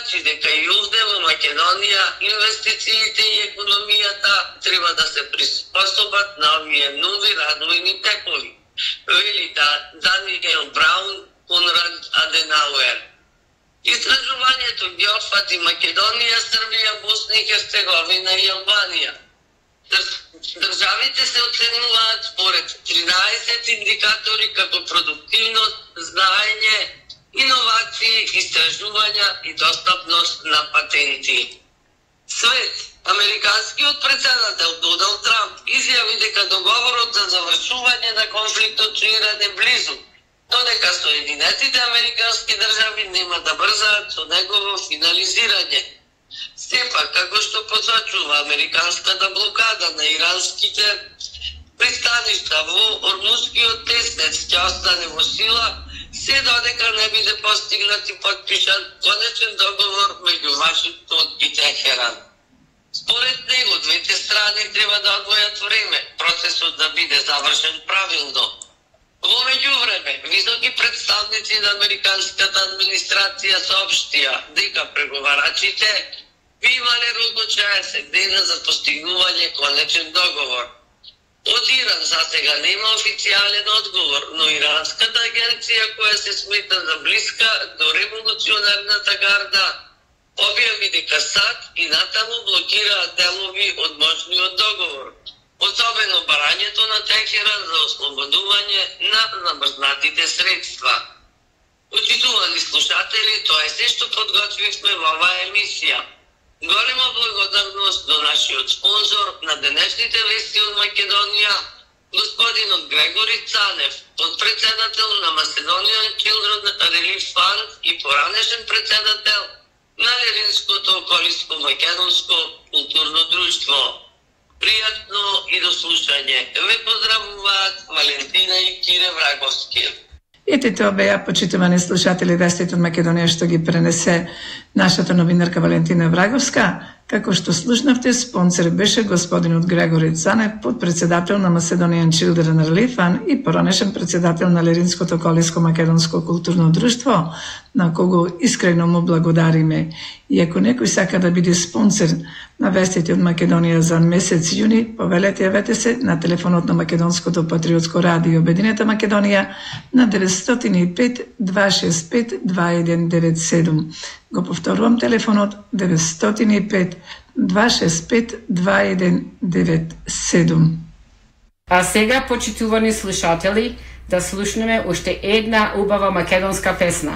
значи дека и овде во Македонија инвестициите и економијата треба да се приспособат на овие нови развојни текови. Вели Даниел Браун, Конрад Аденауер. Истражувањето ги опфати Македонија, Србија, Босна и Херцеговина и Албанија. Државите се оценуваат според 13 индикатори како продуктивност, знаење, иновации, истражувања и достапност на патенти. Свет, американскиот председател Доналд Трамп изјави дека договорот за завршување на конфликтот со Иран е близу, но дека Соединетите американски држави нема да брзаат со негово финализирање. Сепак, како што посочува американската блокада на иранските пристаништа во Ормузскиот теснец ќе остане во сила, се додека не биде постигнат и подпишан конечен договор меѓу Вашингтон и Техеран. Според него, двете страни треба да одвојат време, процесот да биде завршен правилно. Во меѓувреме, високи представници на американската администрација соопштија дека преговарачите би имале рок од 60 дена за постигнување конечен договор. Од Иран засега нема официјален одговор, но иранската агенција, која се смета за блиска до револуционарната гарда, објави дека САД и натаму блокираат делови од можниот договор, особено барањето на Техеран за ослободување на замрзнатите средства. Почитувани слушатели, тоа е се што подготвивме во оваа емисија. Голема благодарност до нашиот спонзор на денешните вести од Македонија, господинот Грегори Цанев, подпредседател на Macedonian Children Relief Fund и поранешен председател на Леринското околиско-македонско културно друштво. Пријатно и до слушање. Ве поздравуваат Валентина и Кире Враговски. Ете тоа беа, почитувани слушатели, вестите од Македонија што ги пренесе нашата новинарка Валентина Враговска. Како што слушнавте, спонсор беше господинот Грегори Цанев, подпредседател на Macedonian Children Relief Fund и поранешен председател на Леринското околиско-македонско културно друштво, на кого искрено му благодариме. И ако некој сака да биде спонсор на вестите од Македонија за месец јуни, повелете, јавете се на телефонот на Македонското патриотско радио Обединета Македонија на 905-265-2197. Го повторувам телефонот 905-265-2197. А сега, почитувани слушатели, да слушнеме уште една убава македонска песна.